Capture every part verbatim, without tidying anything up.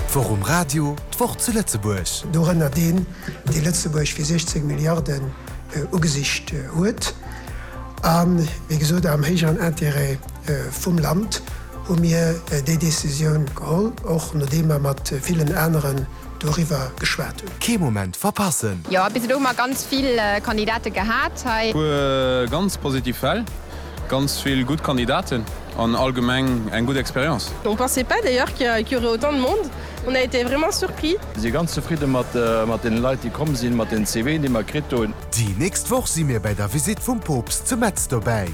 D'Woch um Radio, d'Woch zu Lëtzebuerg. Dorënner deen, dee Lëtzebuerg fir siechzéng Milliarden ugesicht huet. A wéi gesot, am héijeren Intérêt vum Land hu mir déi Décisioun geholl, och nodeem mer mat villen aneren doriwwer geschwat hunn. Kee Moment verpassen! Jo, bis elo hu mer ganz vill Kandidate gehat hei. Puer ganz positiv Fäll, ganz vill gutt Kandidaten an allgemeng eng gutt Expérience. On pensait pas d'ailleurs qu'il y aurait autant de monde, on a été vraiment surpris. Mir si ganz zefridde mat deene Leit, déi komm sinn, mat den CVen, déi mer kritt hunn. Déi nächst Woch si mir bei der Visitt vum Poopst zu Metz dobäi.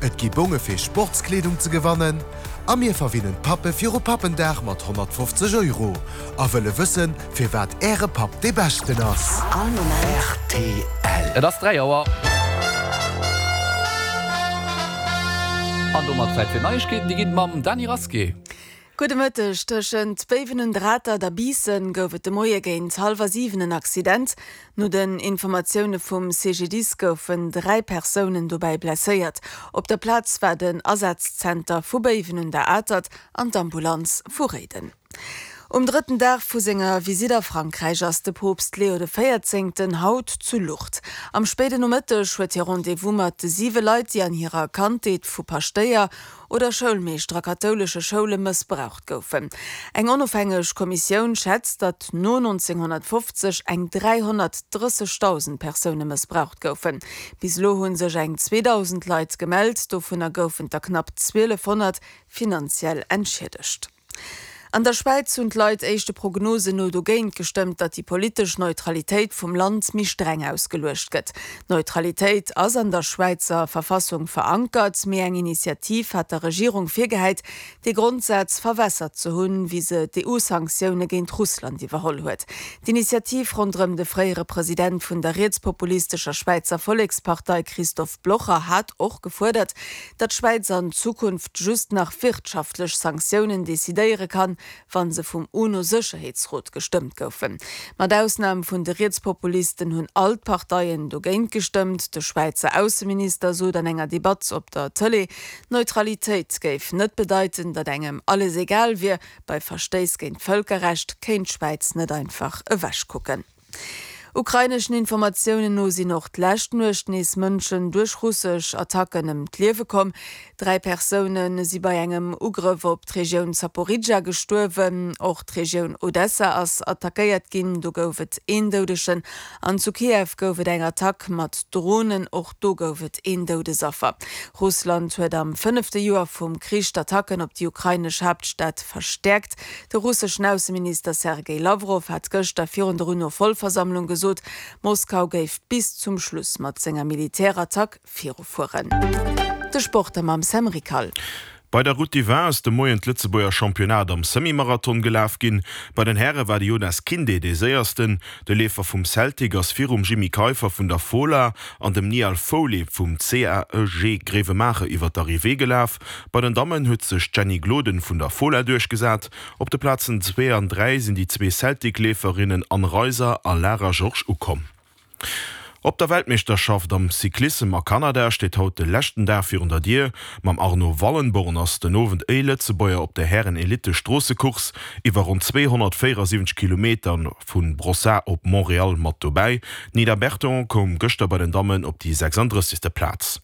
Et gi Bonge fir Sportskleedung ze gewannen a mir verwinnen d'Pappe viru Pappendag mat honnertfofzeg Euro a wëlle wëssen, firwat äre Papp dee beschten ass. Rtl. Et ass dräi Auer. An domat Zäit fir Neiegkeeten, déi ginn et mam Dany Rasqué. Gudde Mëtteg. Tëschent Béiwen un der Atert a Biissen gouf et de Moie géint hallwer siwen en Accident. No den Informatioune vum C G D I S goufen dräi Persounen dobäi blesséiert. Op der Plaz war den Asazzenter vu Béiwen un der Atert an d'Ambulanz vu Réiden. Um drëtten Dag vu senger Visitt a Frankräich ass de Poopst Leo de Véierzéngten haut zu Lourdes. Am spéiden Nomëtteg huet hie Rendez-vous mat de siwe Leit, déi an hirer Kandheet vu Paschtéier oder Schoulmeeschter a kathoulesche Schoule mëssbraucht goufen. Eng onofhängeg Kommissioun schätzt, datt no nonzénghonnertfofzeg eng dräihonnertdrëssegdausend Persoune mëssbraucht goufen. Bis elo hu sech eng zweedausend Leit gemellt, dovunner goufen der knapp zwielefhonnert finanziell entschiedegt. An der Schwäiz hunn d'Leit éischte Prognosen no dogéint gestëmmt, datt déi politesch Neutralitéit vum Land méi streng ausgeluecht gëtt. D'Neutralitéit ass an der Schwäizer Verfassung verankert, mee eng Initiativ hat der Regierung virgehäit, dee Grondsaz verwässert ze hunn, wéi se d'E U-Sanktioune géint Russland iwwerholl huet. D'Initiativ ronderëm de fréiere President vun der rietspopulistescher Schwäizer Vollekspartei Christoph Blocher hat och gefuerdert, datt d'Schwäiz an Zukunft just nach wirtschaftlech Sanktiounen decidéiere kann, wa se vum UNO-Sécherheetsrot gestëmmt goufen. Mat Ausnam vun de Rietspopulisten hunn all d'Parteien dogéint gestëmmt. De Schwäizer Ausseminister sot an enger Debatt op der Tëlee, Neutralitéit géif net bedeiten, datt engem alles egal wier, bei Verstéiss géint d'Vëlkerrecht kéint d'Schwäiz net einfach ewechkucken. Ukraineschen Informatiounen no sinn och d'lescht Nuecht nees Mënschen duerch russesch Attacken ëm d'Liewe komm. Dräi Persoune si bei engem Ugrëff op d'Regioun Zaporizhzhia gestuerwen. Och d'Regioun Odessa ass attackéiert ginn, do gouf et een Doudegen. An zu Kiew gouf et eng Attack mat Dronen, och do gouf et een Doudesaffer. Russland huet am fënnefte Joer vum Krich d'Attacken op déi ukrainesch Haaptstad verstäerkt. De russeschen Ausseminister Sergej Lawrow hat gëschter virun der UNO-Vollversammlung gesot, Moskau géif bis zum Schluss mat senger Militärattack virufueren. De Sport mam Sam Rickal. Bei der Route du Vin ass de Moien d'Lëtzebuerger Championnat am Semi-Marathon gelaf ginn. Bei den Häre war de Jonas Kinde dee Séiersten. De Leefer vum Celtic ass virum Jimmy Keiffer vun der Fola an dem Niall Foley vum C A E G Grevenmacher iwwer d'Arrivée gelaf. Bei den Dammen huet sech d'Jenny Gloden vun der Fola duerchgesat. Op de Plazen zwee an dräi sinn déi zwee Celtic-Leeferinnen Anne Reiser a Lara Georges ukomm. Op der Weltmeeschterschaft am Cyclissem a Kanada steet haut de leschten Dag virun der Dier. Mam Arno Wallenborn ass den Owend e Lëtzebuerger op der Hären-Elite-Stroossecourse iwwer ronn zweehonnertvéierasiwwenzeg Kilometer vu Brossard op Montréal mat dobäi. D'Nida Berton koum gëschter bei den Dammen op déi sechsanddrëssegste. Plaz.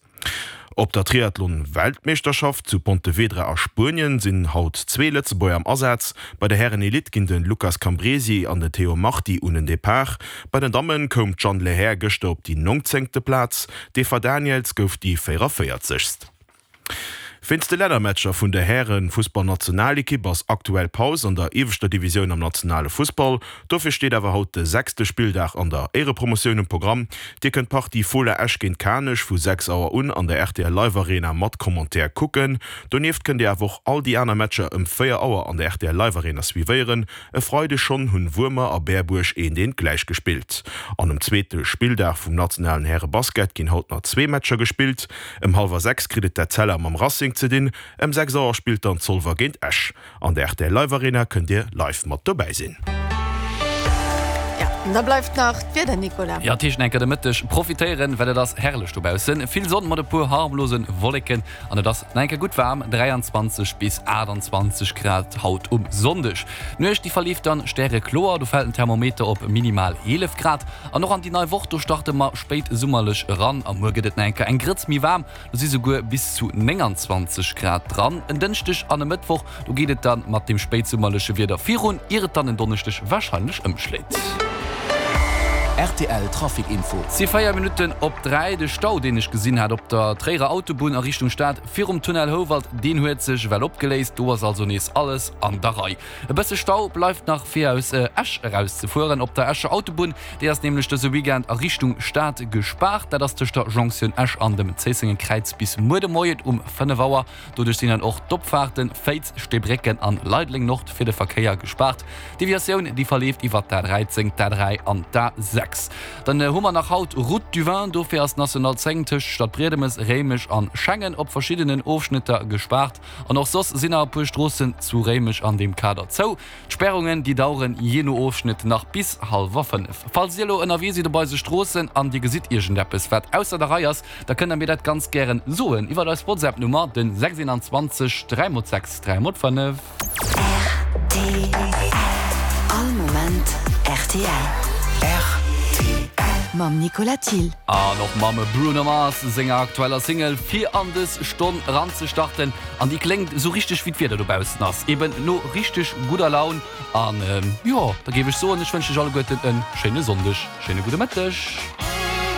Op der Triathlon-Weltmeeschterschaft zu Pontevedra a Spuenien sinn haut zwee Lëtzebuerger am Asaz. Bei der Hären-Elite ginn de Lucas Cambresi an den Theo Marti un den Depart. Bei den Damme koum d'Jeanne Lehair gëschter op déi nongzéngte. Plaz. D'Eva Daniëls gouf déi véieranvéierzegst. Wéinst de Lännermatcher vun der Häre-Fussballnationalekipp ass aktuell Paus an der ieweschter Divisioun am nationale Fussball. Dofir steet awer haut de sechste Spilldag an der Éierepromotioun um Programm. Dir kënnt d'Partie Fola Esch géint Kanech vu sechs Auer un an der R T L Live Arena mat Commentaire kucken. Donieft kënnt Dir awer och all déi aner Matcher ëm véier Auer an der R T L Live Arena suivéieren. E Freideg schonn hunn Wuermer a Berbuerg eent eent gläich gespillt. An um zweete Spilldag vum nationalen Häre-Basket ginn haut nach zwee Matcher gespillt. Ëm hallwer sechs kritt et d'Etzella mam Racing ze dinn. Ëm sechs Auer spillt dann Zolwer géint Esch. An der R T L Live Arena kënnt Dir live mat dobäi sinn. Ja, An da bleift nach d'Wieder, Nicolas. Jo, dat heescht enker de Mëtteg profitéieren, well et ass herrlech dobaussen. Vill Sonn mat e puer harmlose Wolleken an et ass nach enker gutt waarm, dräianzwanzeg bis aachtanzwanzeg Grad haut um Sonndeg. D'Nuecht déi verleeft dann stärekloer, do fält den Thermometer op minimal eelef Grad. An och an déi nei Woch, do starte mer spéitsummerlech eran a muer gëtt et nach enker eng Grëtz méi waarm, do si souguer bis zu nénganzwanzeg Grad dran. En Dënschdeg an e Mëttwoch, do geet et dann mat deem spéitsummerleche Wieder virun, ier et dann en Donneschdeg warscheinlech ëmschléit. Rtl Trafic Info. Et si véier Minutten op dräi. De Stau, deen ech gesinn hat op der Tréierer Autobunn a Richtung Stad virum Tunnel Houwald, deen huet sech ewell opgeléist. Do ass also nees alles an der Rei. E bësse Stau bleift nach fir aus Esch erauszefueren op der Escher Autobunn. Déi ass nämlech dëse Weekend a Richtung Stad gespaart. Dat ass tëscht der Jonktioun Esch an dem Zéissenger Kräiz bis muer de Moien um fënnef Auer. Doduerch sinn dann och d'Opfaarten Féiz, Steebrécken an Leideleng Nord fir de Verkéier gespaart. D'Deviatioun déi verleeft iwwer d'A dräizéng, d'A dräi an d'A sechs. Dann hu mer nach haut Route du Vin. Dofir ass d'National zéng tëscht Stadbriedemes, Réimech an Schengen op verschiddenen Ofschnëtter gespaart. An och soss sinn nach e puer Stroossen zu Réimech an deem Kader zou. D'Spärungen déi daueren jee no Ofschnëtt nach bis hallwer fënnef. Falls dir elo ënnerwee sidd op eise Stroossen an dir gesitt iergendeppes wat ausser der Rei ass, da kënnt der mir dat ganz gären soen iwwert eis WhatsApp Nummer, den sechs dräi mol sechs dräi mol fënnef. Rtl, All Moment rtl. Rtl. Mam Nicolas Thill. An och mam Bruno Mars senger aktueller Single fir an dës Stonn eranzestarten. An déi kléngt esou richteg wéi d'Wieder dobaussen ass, eben no richteg gudder Laun. An jo, da géif ech soen, ech wënschen iech alleguerten e schéine Sonndeg, schéine gudde Mëtteg.